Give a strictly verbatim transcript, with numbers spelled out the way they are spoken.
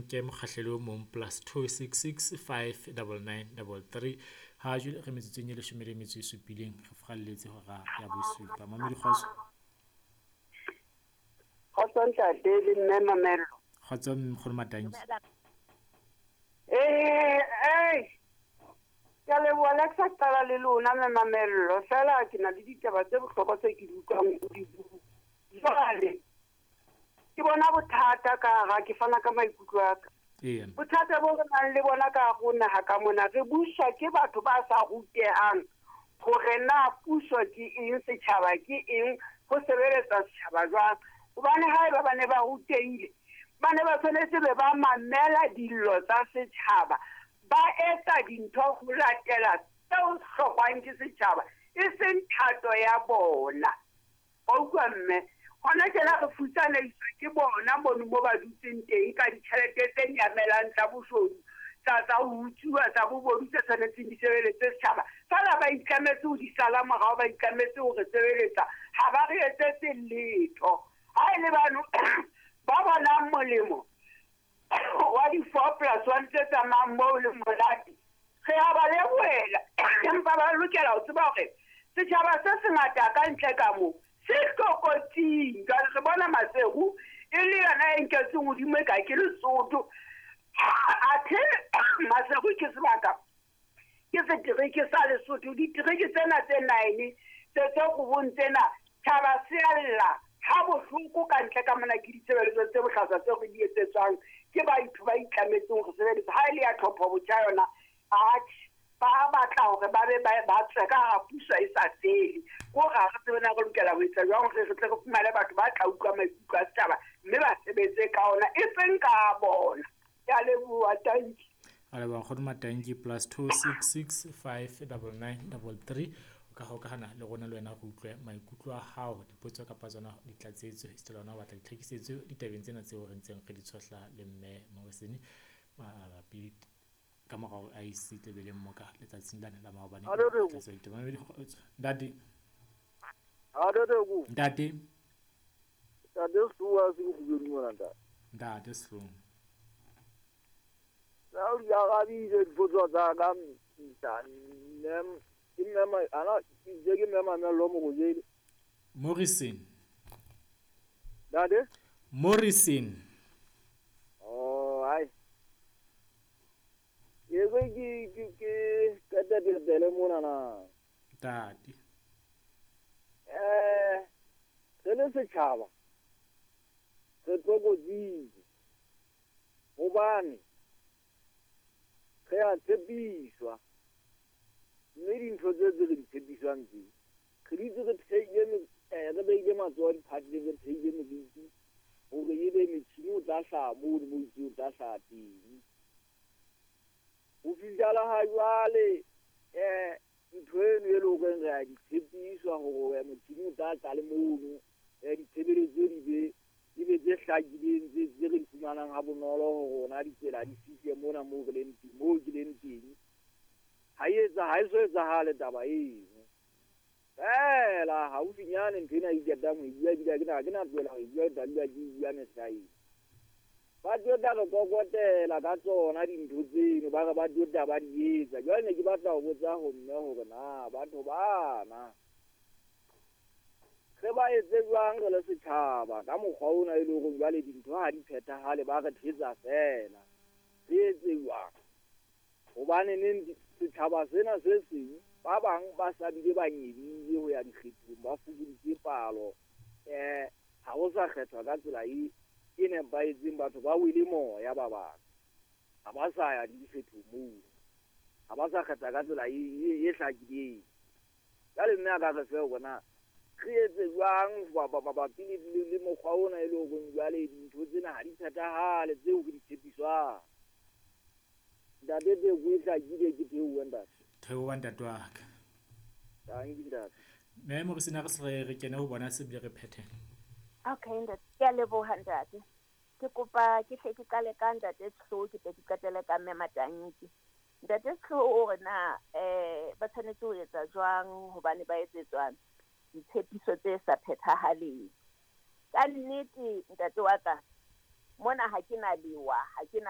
nke mokgahlelo o mong plus two six six five double nine double three. Ha jwale re metsotsong e leshome le metso e supileng re furalletse hora ya bosupa. Mamedi kgotso. Kgotso ntate le mme Mamello. Kgotso nkgono Matanki. Eh eh ke a leboha le ke sa qala le lona mme Mamello, fela ke na le ditaba tse bohlokwa tse ke di utlwang o di bua. Jwale ke bona bothata ka hara ke fana ka maikutlo a ka. Eya. Bothata bo re nang le bona ka hare ho naha ka mona, re buswa ke batho ba sa rutehang hore na puso ke eng, setjhaba ke eng, ho sebeletsa setjhaba jwang. Hobane haeba ba ne ba rutehile, ba ne ba tshwanetse be ba mamela dillo tsa setjhaba, ba etsa dintho ho latela tseo hlokwang ke setjhaba, e seng thato ya bona. Wa utlwa mme? Hona tjena re futsanehiswa ke bona mono mo ba dutseng teng ka ditjhelete tse nyamelang tsa boshodu, tsa tsa ho utsuwa, tsa bobodu tse tshwanetseng di sebeletse setjhaba. Feela ba itlametse ho di sala morao, ba itlametse ho re sebeletsa, ha ba re etsetse letho. Ha e le bano ba bonang molemo wa di-four plus one tse tsamayang moo le monate, re a ba lebohela, empa ba lokela ho tseba hore setjhaba se sengata ka ntle ka moo se tlokotsing. Jwale re bona Maseru e le yona e nketseng hodimo e ka ke Lesotho. Athe Maseru ke sebaka, ke setereke sa Lesotho. Ditereke tsena tse nine tse tse robong tsena, tjhaba se a lla ha bohloko ka ntle ka mona ke ditshebeletso tse bohlaswa tseo re di etsetswang ke batho ba itlametseng ho sebeletsa. Ha e le ya tlhopho botjha yona, atjhe, ba batla hore ba be ba ba tswe ka hara puso e sa fele. Ke hore ha re tsebe na re lokela ho etsa jwang hore re tle re fumane batho ba tla utlwa maikutlo a setjhaba mme ba sebetse ka ona, e seng ka bona. Ke a leboha, tanki. A leboha nkgono Matanki. Plus two six six five double nine double three. O ka hokahana le rona le wena re utlwe maikutlo a hao, dipotso kapa tsona ditlatsetso, esita le hona ho batla ditlhakisetso ditabeng tsena tseo re ntseng re di tshohla le mme Morrison mabapi ka mora hore a ise tlebeleng moka letsatsing lane la maobane. Alo, Reko. Tlasa ditaba. Mamedi kgotso. Ntate. Alo, Reko. Ntate. Ntate Sehloho a se kgubedu mona, ntate. Ntate Sehloho. Na o di arabile dipotso tsa ka, ntate. Mme, ke mme ma-, ana, ke itse ke mme Mamello Morojele. Morrison. Ntate? Morrison. Oh, ai. Ke re ke, ke, ke qeta tetele mona na. Ntate. Eh, re le setjhaba, re tlokotsing. Hobane re a tshepiswa, mme dintho tse tse re di tshepiswang tse, re di itse re theile me-, eh, re beile matsoho diphatleng, re theile meriti hore ebe metjhini o tla hlaha mono mo itse o tla hlaha teng. Ho fihlela ha jwale, eh, ntho eno e leng hore re a di tshepiswa hore motjhini o tla tla le mono, eh, ditshebeletso di be, di be tse hlakileng, tse, tse re di fumanang ha bonolo hore rona ditsela di fihle mona moo re leng teng, moo ke leng teng. Ha e etsa, ha e so etsahale taba eno. Feela haufinyane ntho ena e qetang ho e bua, ebile ha ke na, ha ke na tlohela ho e bua, ke tla dula ke e bua mehla ena. Ba tlo tla re kokotela ka tsona dintho tseno, ba re ba tlo tla ba di etsa. Jwale ne ke batla ho botsa ho mme hore na batho bana re ba etse jwang re le setjhaba ka mokgwa ona e leng hore jwale dintho ha di phethahale, ba re thetsa feela. Re etse jwang? Hobane neng di-, setjhaba sena se seng, ba bang ba sa bile ba nyedile ho ya dikgethong, ba fokoditse palo. Eh, ha ho sa kgethwa ka tsela e, e nepahetseng, batho ba wele moya ba bang. Ha ba sa ya dikgethong moo. Ha ba sa kgetha ka tsela e, e, e hlakileng. Jwale mme a ka re fe hore na re etse jwang ba-, ba-, mabapi le, le, le mokgwa ona e leng hore jwale dintho tsena ha di phethahale tseo re di tshepiswang. Ntate Teko e hlakile ke theoha ntate. Theoha ntate wa ka. Tanki ntate. Mme Morrison, ha re se re, re kene ho bona se bile re phethe. Okay ntate, ke a leboha ntate. Ke kopa ke hle ke qale ka ntate Sehloho, ke tle ke qetele ka mme Matanki. Ntate Sehloho o re na, eh, ba tshwanetse ho etsa jwang hobane ba etsetswa ditshepiso tse sa phethahaleng. Ka nnete ntate wa ka, mona ha ke na lewa, ha ke na